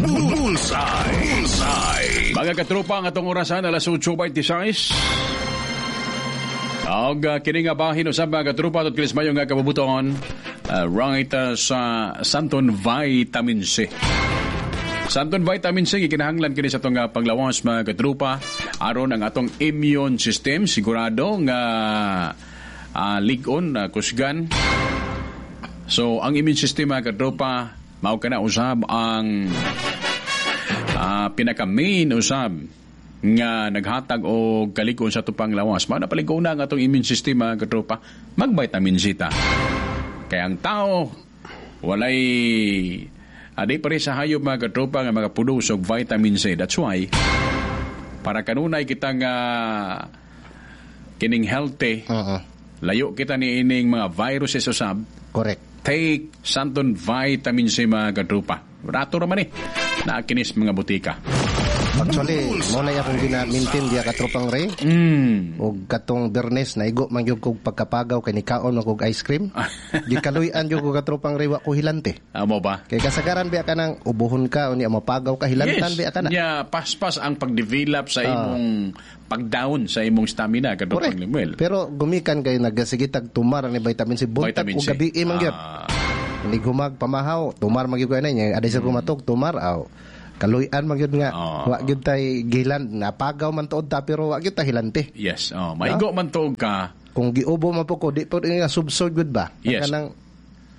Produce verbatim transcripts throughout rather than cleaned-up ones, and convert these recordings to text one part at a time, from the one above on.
Bullseye. Bullseye. Mga katropa, ang atong orasan alas otso twenty-six. Og uh, kini nga bahin usab, mga katropa, tungod kinis mayo nga kabubuton uh, right uh, sa Santon Vitamin C. Santon Vitamin C, gikinahanglan kini sa atong uh, panglawas, mga katropa, aron ang atong immune system sigurado nga uh, lig-on, uh, kusgan. So ang immune system, mga katropa, mao kana usab ang uh, pinaka main usab nga naghatag og kalig-on sa atong panglawas. Mao na palig-on ang atong immune system, mga katropa, mag-vitamin C ta. Kaya ang tao walay adi pa rin sa hayop, mga katropa, nga makaproduce og vitamin C. That's why para kanunay kita nga kining healthy, Oo. layo kita ni ining mga viruses usab, Correct. take Santon Vitamin C, mga katropa. Rato raman eh. Naa kinis mga botika. Actually, mao na akong gina-maintain diya, katropang Ray. Mm. Og katong Bernes naigo man gyud kog pagkapagaw kay nikaon man kog ice cream. Gikaluy-an gyud ko, katropang Ray, wa ko hilante. Amo ba? Kay kasagaran biya kanang ubuhon ka unya mapagaw ka, hilantan biya ka na. Nya paspas ang pag-develop sa imong pag-down sa imong stamina, katropang Correct. Lemuel. Pero gumikan kay nagasige tag tumar ni vitamin C buntag Vitamin ug C. gabi man gyud. Ah, Hindi humag pamahaw, tumar man gyud ko na niya. Aday sa kumatog, tumar aw. Kaluy-an man gyud nga Ah. wa gyud tay gilan, napagaw man tuod ta pero wa gyud ta hilante. Yes. Oh, maigo man tuog ka. Kung giubo man po ko, di po nga subsod gyud ba? Yes. Kanang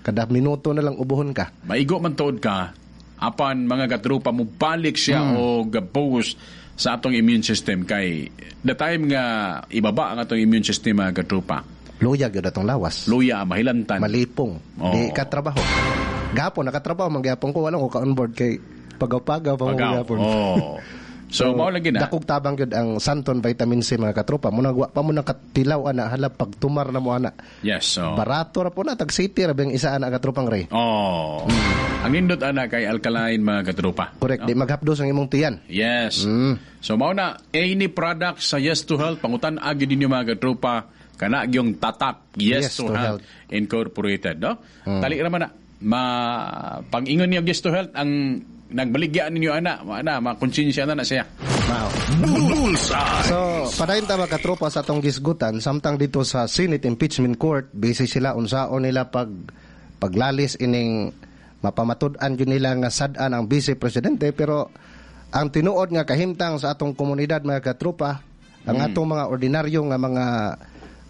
kada minuto na lang ubuhon ka. Maigo man tuod ka. Apan, mga katropa, mo balik siya Hmm. og boost sa atong immune system kay the time nga ibaba ang atong immune system, mga katropa. Luya gyud atong lawas. Luya, mahilantan. Malipong. Oo. Di ka trabaho. Gapon nakatrabaho man gyapon ko, wala ko ka on board kay pagaw-pagaw pa mo Pagaw. gapon. Oh. So, mao lagi na. Dakog tabang gyud ang Santon Vitamin C, mga katropa. Muna wa pa mo nakatilaw ana, hala, pagtumar na mo ana. Yes. So. Barato ra po na, tag city ra bang isa ana, katropang Ray. Oh. Ang nindot ana kay alkaline, mga katropa. Correct, di maghapdos ang imong tiyan. Yes. Mm. So mao na any product sa Yes to Health, pangutan agi ninyo, mga katropa, kana gyung tatak Yes, Yes to, to Health, Health. Mm. Incorporated, no? Tali ra man na ma pag-ingon niyo Yes to Health ang nagbaligya ninyo ana, ana makonsensya na na siya. Mao. Bullseye. So, padayon ta, mga katropa, sa atong gisgutan samtang dito sa Senate Impeachment Court, busy sila unsaon nila pag paglalis ining mapamatud-an gyud nila nga sad-an ang vice presidente, pero ang tinuod nga kahimtang sa atong komunidad, mga katropa, ang atong mga ordinaryo nga mga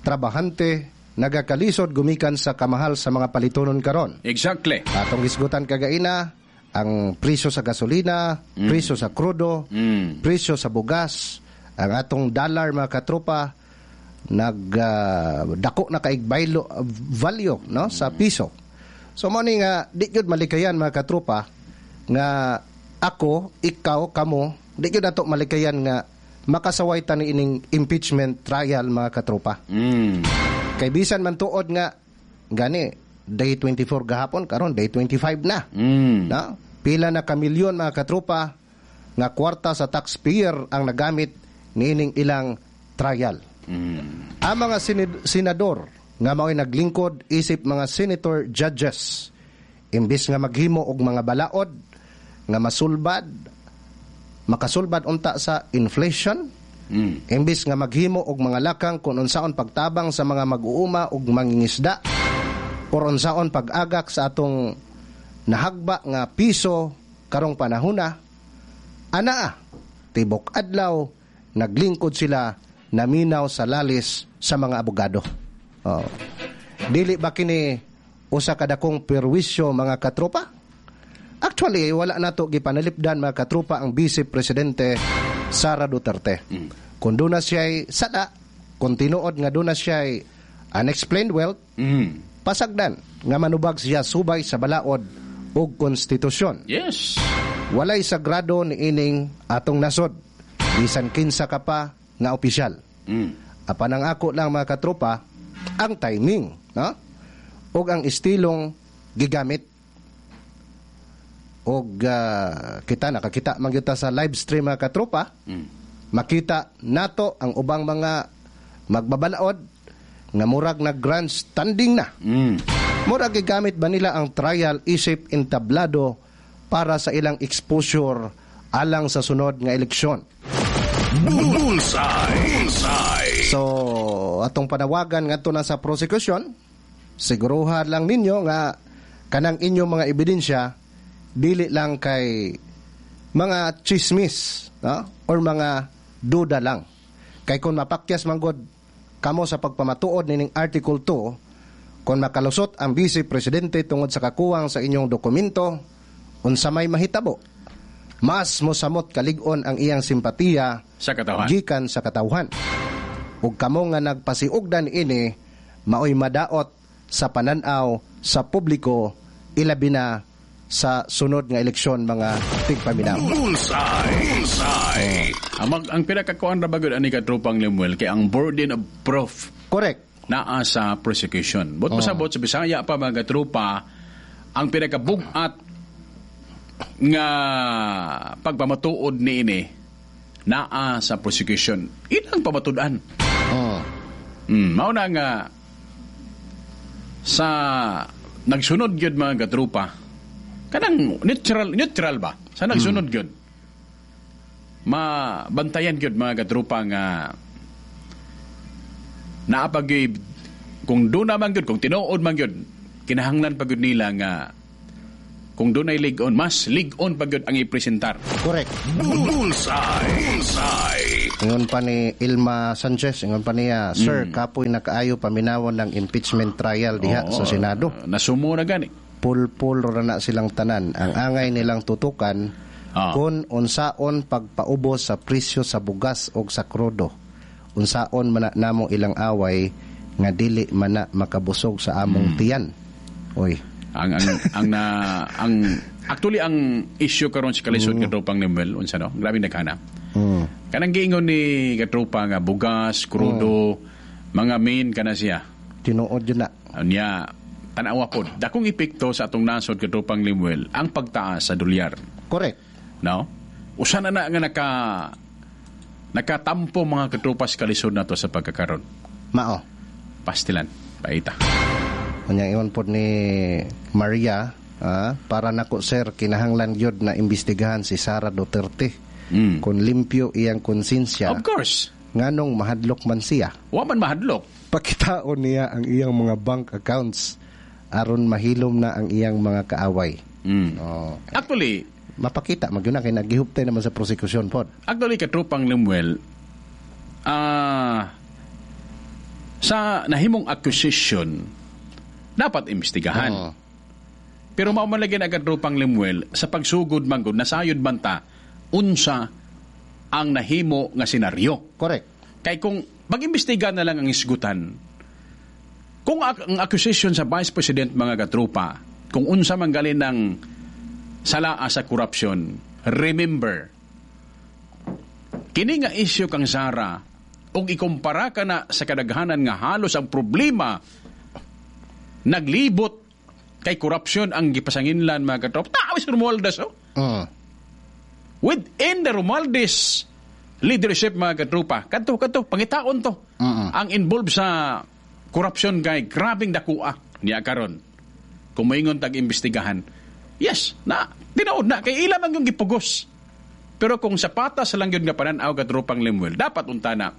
trabahante nagakalisod gumikan sa kamahal sa mga palitonon karon. Exactly. Atong gisgutan kagaina ang presyo sa gasolina, presyo sa krudo, Mm. presyo sa bugas, ang atong dollar, mga katropa, nag ah, dako na kaig baylo, value no sa piso. So mo ni nga di gyud malikayan, mga katropa, nga ako, ikaw, kamo, di gyud nato malikayan nga makasaway ta ni ining impeachment trial, mga katropa. Mm. Kay bisan man tuod nga gani day twenty-four gahapon, karon day twenty-five na. Mm. Na pila na kamilyon, mga katropa, nga kwarta sa taxpayer ang nagamit niining ilang trial. Mm. Ang mga sinid- senador nga mao'y naglingkod isip mga senator judges, imbis nga maghimo og mga balaod nga masulbad makasulbad unta sa inflation, Mm. imbis nga maghimo og mga lakang kung unsaon pagtabang sa mga mag-uuma ug mangingisda or unsaon pag-agak sa atong nahagba nga piso karong panahona, anaa tibok adlaw naglingkod sila naminaw sa lalis sa mga abogado. Oh. Dili ba kini usa ka dakong perwisyo, mga katropa? Actually, wala nato gipanalipdan, mga katropa, ang Vice Presidente Sara Duterte. Kung doon na siya'y sada, kung tinuod nga doon na siya'y unexplained wealth, Mm. pasagdan nga manubag siya subay sa balaod ug konstitusyon. Yes. Walay sagrado ni ining atong nasod, bisan kinsa ka pa nga opisyal. Mm. Apan ang ako lang, mga katropa, ang timing, no? Ug ang estilong gigamit. Og ah, kita nakakita man gyud ta sa live stream, mga katropa. Mm. Makita nato ang ubang mga magbabalaod nga murag na grandstanding na. Mm. Murag gigamit ba nila ang trial isip entablado para sa ilang exposure alang sa sunod nga eleksyon. Bullseye. Bullseye. So, atong panawagan ngadto na sa prosecution, siguruhan lang ninyo nga kanang inyong mga ebidensya dili lang kay mga chismis, no? Or mga duda lang. Kay kung mapakyas man gud kamo sa pagpamatuod nining Article two, kung makalusot ang Vice Presidente tungod sa kakuwang sa inyong dokumento, unsa may mahitabo, mas mosamot kalig-on ang iyang simpatiya sa katawhan. Gikan sa katawhan. Ug kamo nga nagpasiugdan ini maoy madaot sa pananaw sa publiko, ilabi na sa sunod nga eleksyon, mga tigpaminaw. Bullseye. Bullseye. Ang, mag, ang pinakakuan ra bagod ani katropang Lemuel kay ang burden of proof Correct. naa sa prosecution. But pasabot sa Bisaya pa, mga tropa, ang pinakabugat nga pagpamatuod niini naa sa prosecution. Ilang pamatud-an. Oh. Mm, mao na nga sa nagsunod gyud, mga katropa, kanang neutral neutral ba sa nagsunod gyud, mabantayan gyud, mga katropa, nga naa pa gyud, kung doon naman gyud, kung tinuod man gyud, kinahanglan pa gyud nila nga kung dunay lig-on, mas lig-on pa gyud ang ipresentar. Correct. Bullseye. Bullseye. Ingon pa ni Ilma Sanchez, ingon pa niya, "Sir, kapoy na kaayo paminawon ng impeachment trial diha Oo, sa Senado." Nasumo na gani. Pulpul ra na silang tanan. Ang angay nilang tutukan Ah. kung unsaon pagpaubos sa presyo sa bugas og sa krudo. Unsaon man na namo ilang away nga dili man na makabusog sa among tiyan. Oy. Ang ang ang na ang actually ang issue karon sa kalisod, mm. katropang Lemuel, unsa no? Grabe naghana. Mm. Kanang giingon ni katropa nga bugas, krudo, mga main kana siya. Tinuod yun na. Unya, tanawa pod. Dakong epekto sa atong nasod, katropang Lemuel, ang pagtaas sa dolyar. Correct. No? Usa na na nga naka nakatampo, mga katropa, sa kalisod nato sa pagkakaron. Mao. Pastilan, paita. Unya ingon pod ni Maria, ah, "Para nako, sir, kinahanglan gyud na imbestigahan si Sara Duterte. Mm. Kung limpyo iyang konsensya, Of course. nganong mahadlok man siya? Wa man mahadlok. Pakitaon niya ang iyang mga bank accounts aron mahilom na ang iyang mga kaaway." Mm. Oh, Actually, mapakita magyud na kay nagihuptay naman sa prosecution pod. Actually, katropang Lemuel, ah sa nahimong accusation, dapat imbestigahan. Oo. Pero mao man lagi na, katropang Lemuel, sa pagsugod man gud, nasayod man ta unsa ang nahimo nga senaryo. Correct. Kay kung mag-imbestiga na lang ang isgutan, kung ak- ang accusation sa Vice President, mga katropa, kung unsa man galin ng salaa sa corruption, remember, kini nga issue kang Sara, ug ikumpara ka na sa kadaghanan nga halos ang problema naglibot kay corruption ang gipasanginlan, mga katropa. Tao si Romualdez, oh. Mm. Within the Romualdez leadership, mga katropa, kadto kadto pangitaon to. Mm-mm. Ang involved sa corruption kay grabing dakua niya karon. Kung moingon tag imbestigahan, yes, na tinuod na kay ila man yung gipugos. Pero kung sa patas lang yun nga panan-aw, katropang Lemuel, dapat unta na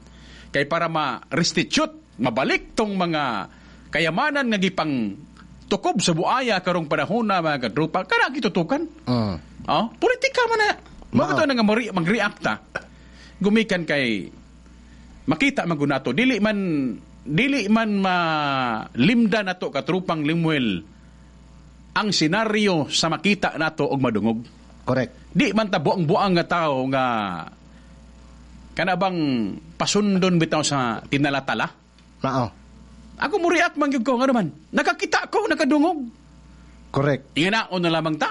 kay para ma-restitute, mabalik tong mga kayamanan nga gipang tukob sa buaya karong panahon na, mga katropa, kana gitutukan. Mm. Oh, politika man na. Mao Mao. to na nga mori- mag-react ta. Gumikan kay makita man gud nato, dili man dili man malimda nato, katropang Lemuel, ang senaryo sa makita nato og madungog. Correct. Di man ta buang-buang nga tao nga kana bang pasundon bitaw sa tinalatala. Mao. Ako mo react man gyud ko ngano man. Nakakita ko, nakadungog. Correct. Inganaon na lamang ta.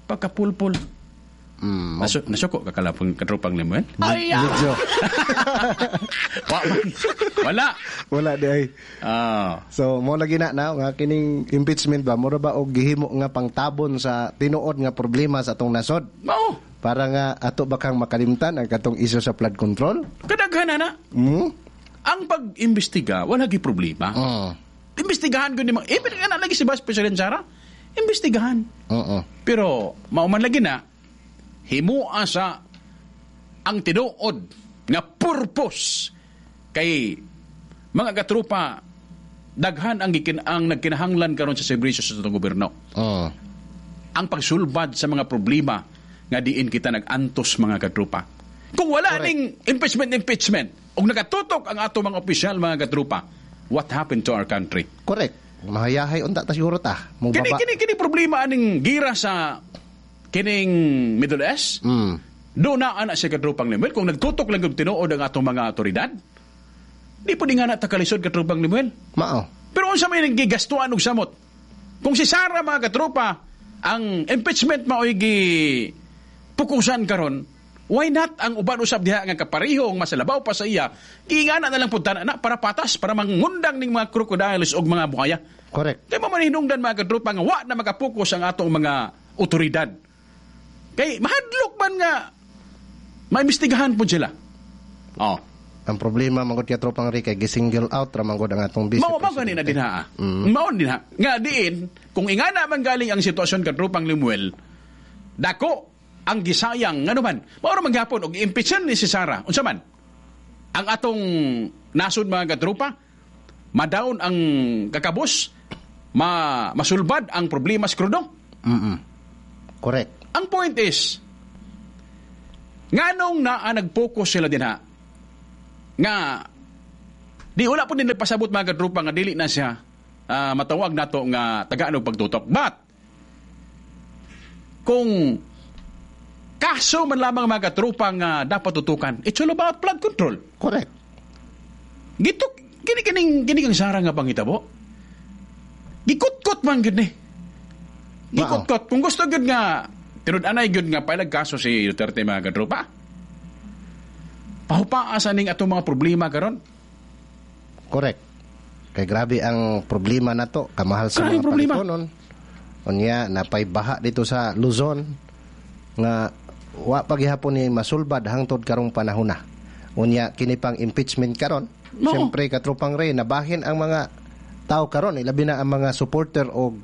Pagkapulpul. Mm. Nasu nasuko ka kalapang, katropang Lemuel? Ay, ah! Medyo. Wa man. Wala. Wala di ay. Ah. So mo lagi na na nga kining impeachment ba mura ba og gihimo nga pangtabon sa tinuod nga problema sa atong nasod Mao. para nga ato ba kang makalimtan ang katong isyu sa flood control? Kadaghan na na. Mm? Ang pag-imbestiga, wala gi problema. Mm. Imbestigahan ko ni mga, eh, pero nga na lagi si Vice President Sara. Imbestigahan. Oo. Pero mao man lagi na himua sa ang tinuod nga purpose kay mga katrupa, daghan ang gikin ang nagkinahanglan karon sa serbisyo sa atong gobyerno. Oo. Ang pagsulbad sa mga problema nga diin kita nag-antos, mga katrupa. Kung wala Correct. ning impeachment impeachment ug nakatutok ang ato mga opisyal, mga katrupa, what happened to our country? Correct. Mahayahay unta ta siguro ta. Mo Kini baba. kini kini problema aning gira sa kining Middle East. Mm. Do na ana siya, katrupang Lemuel, kung nagtutok lang yung tinuod ang atong mga otoridad. Di po di nga na takalisod, katrupang Lemuel. Mao. Pero unsa may gigastuan og samot? Kung si Sara, mga katropa, ang impeachment mao'y gi pukusan karon, why not ang uban usab diha nga kaparehong masalabaw pa sa iya, giingana na lang pud tanan na para patas, para mangundang ning mga crocodiles og mga buhaya. Correct. Kay mo man hinungdan, mga katropa, nga wa na makapokus ang atong mga otoridad. Kay mahadlok man nga maimbestigahan pud sila. Oh. Ang problema man gud, tropang Ray, kay gisingle out ra man gud ang atong vice Mao mao gani na presidente. dinha. Mm. Mao dinha. Nga diin kung ingana man galing ang sitwasyon, katrupang Lemuel, dako ang gisayang ngano man. Mao ra man gihapon og impeachment ni si Sara. Unsa man? Ang atong nasod, mga katrupa, madaon ang kakabos, ma masulbad ang problema sa krudo. Mm. Correct. Ang point is, nganong naa nag-focus sila dinha nga di wala po din nagpasabot, mga katrupa, nga dili na siya ah, matawag nato nga tagaan og pagtutok. But kung kaso man lamang, mga katrupa, nga dapat tutukan, it's all about flood control. Correct. Gito kini kining kini kang Sara nga pangitabo. Gikutkot man gyud ni. Gikutkot kung gusto gyud nga tinud-anay gyud nga pailag kaso si Duterte, mga katropa. Pahupaa sa ning atong mga problema karon. Correct. Kay grabe ang problema nato, kamahal sa Grabe mga problema. palitonon. Unya napay baha dito sa Luzon nga wa pa gihapon ni masulbad hangtod karong panahon na. Unya kini pang impeachment karon. Mao. Siyempre, katropang Ray, nabahin ang mga tao karon, ilabi na ang mga supporter og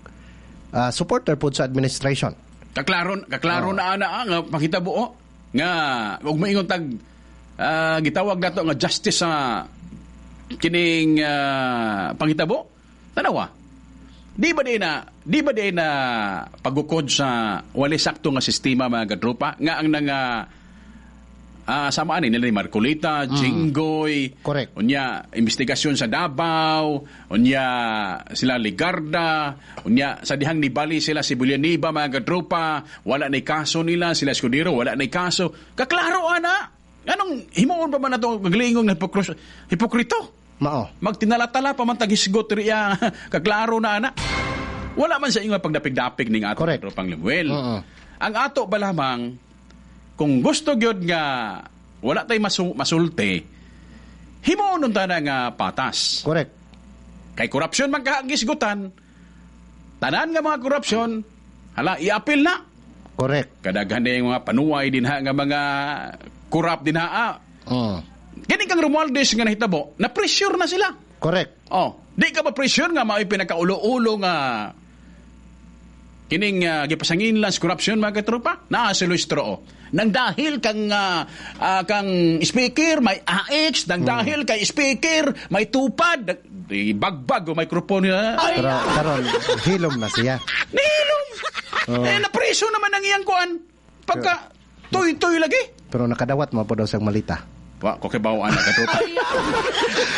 ah, supporter pod sa administration. Kaklaro kaklaro na ana ah, nga pakitabo oh, nga ug maingon tag ah, gitawag nato nga justice sa kining ah, pangitabo. Tanawa. Di ba di na di ba di na pagukod sa wali sakto nga sistema, mga katropa, nga ang nanga ah samaan ni nila ni Marcoleta, Jinggoy, Correct. unya investigasyon sa Davao, unya sila Legarda, unya sa dihang nibali sila si Villanueva, mga katropa, wala na kaso nila, sila Escudero wala na kaso. Kaklaro ana. Anong himuon pa man nato gaglingong na hipokros- hipokrito? Mao. Magtinalatala pa man taghisgot riya, kaklaro na ana. Wala man sa inyo pagdapig-dapig ning ato, Correct. tropang Lemuel. Oo. Ang ato ba lamang kung gusto gyud nga wala tay masu- masulti, himuon unta na nga patas. Correct. Kay korupsyon man kagisgutan, tanan nga mga korupsyon, hala, i-appeal na. Correct. Kadaghan na yung mga panuway dinha nga mga corrupt dinha. Ah. Mm. Kini kang Romualdez nga nahitabo, na pressure na sila. Correct. Oh, di ka ba pressure nga mao'y pinakaulo-ulo nga kining uh, gipasangin lang sa corruption, mga katropa? Naa si Luistro oh. Nang dahil kang ah, ah, kang speaker may A X, nang dahil kay speaker may tupad, di bagbag o microphone niya. Pero karon hilom na siya. Nihilom. Oh. Eh napreso naman ang iyang kuan. Pagka tuy-tuy lagi. Pero nakadawat mo po daw siyang malita. Wa ko kay bawaan na katropa.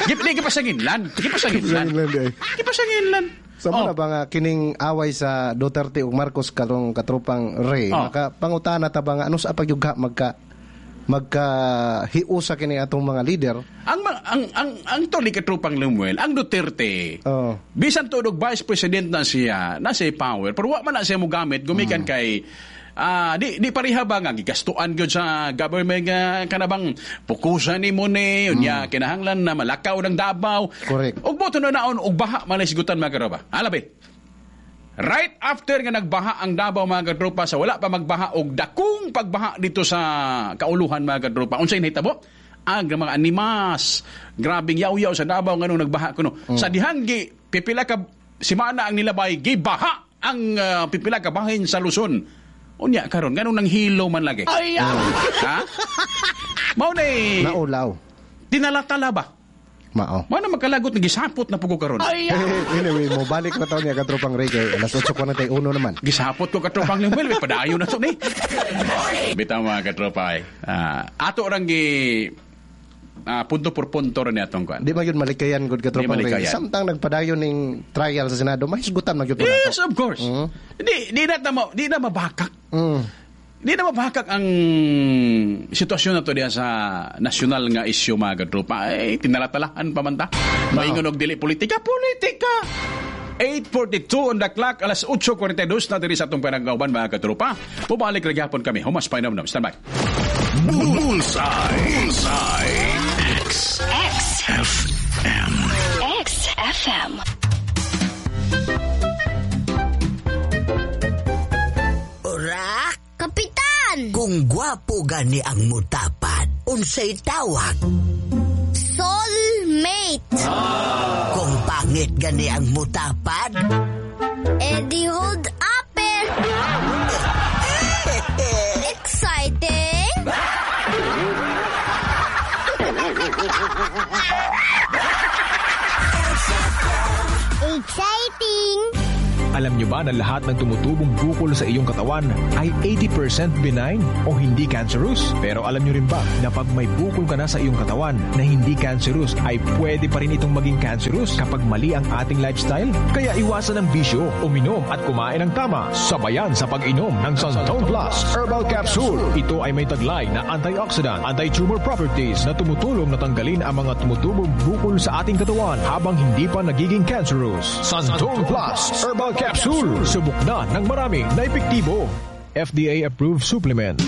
Gip di gipasanginlan. Gipasanginlan. Gipasanginlan, eh. Gipasanginlan. Sa Oh. oh. ba nga kining away sa Duterte ug Marcos karong, katropang Ray, Oh. maka pangutana ta ba nga ano sa pagyugha magka magka hiusa kini atong mga leader? Ang ma- ang ang ang tuli, katrupang Lemuel, ang Duterte. Oh. Bisan tuod og vice president na siya, na siya power, pero wa man na siya mogamit gumikan kay ah di di pareha ba nga gigastuan gyud sa government nga kanabang pukusan nimo ni unya kinahanglan na malakaw ng Davao. Correct. Ug boto na naon og baha man sigutan, mga karoba. Alabi. Right after nga nagbaha ang Davao, mga katropa, sa wala pa magbaha og dakong pagbaha dito sa kauluhan, mga katropa. Unsay nahitabo? Ang mga animas, grabing yaw-yaw sa Davao nganong nagbaha kuno. Sa dihang gi pipila ka simana ang nilabay gibaha. ang uh, pipila ka bahin sa Luzon. Unya karon, nganong nang hilo man lagi? Ay, ha? Mao na Naulaw. Tinalatala ba? Mao. Mao na magkalagot nga gisapot na pugo karon. Anyway, mo balik na taon niya, katropang Ray, kay alas otso kwarenta y uno naman. Gisapot ko, katropang Lemuel, may padayon na to ni. Bitaw, mga katropa eh. Ah, ato rang gi ah, punto por punto rin atong kuan. Di man yun malikayan gud, katropang Di Ray. malikayan. Samtang nagpadayon ning trial sa Senado, mahisgutan man gyud po Yes, nato. of course. Mm. Di di na tama, di na mabakak. Mm. Di na mabakak ang sitwasyon na to diya sa nasyonal nga isyu, mga katropa. Ay, tinalatalahan pa man ta. Maingon og dili politika, politika! eight forty-two on the clock, alas otso kwarenta y dos na diri sa atong panagauban, mga katropa. Pubalik ra gyapon kami. Humas pa inom. Stand by. Bullseye. Bullseye. X. X. F. M. X F M. Orak, Kapitan! Kung gwapo gani ang mutapad, unsay tawag? Soulmate! Kung pangit gani ang mutapad, Eddie hold upper! Exciting! Exciting! Alam nyo ba na lahat ng tumutubong bukol sa iyong katawan ay eighty percent benign o hindi cancerous? Pero alam nyo rin ba na pag may bukol ka na sa iyong katawan na hindi cancerous ay pwede pa rin itong maging cancerous kapag mali ang ating lifestyle? Kaya iwasan ang bisyo, uminom at kumain ng tama. Sabayan sa pag-inom ng Santone Plus Herbal Capsule. Ito ay may taglay na antioxidant, anti-tumor properties na tumutulong na tanggalin ang mga tumutubong bukol sa ating katawan habang hindi pa nagiging cancerous. Santone Plus Herbal Capsule. Subok na ng marami na epektibo. F D A approved supplement.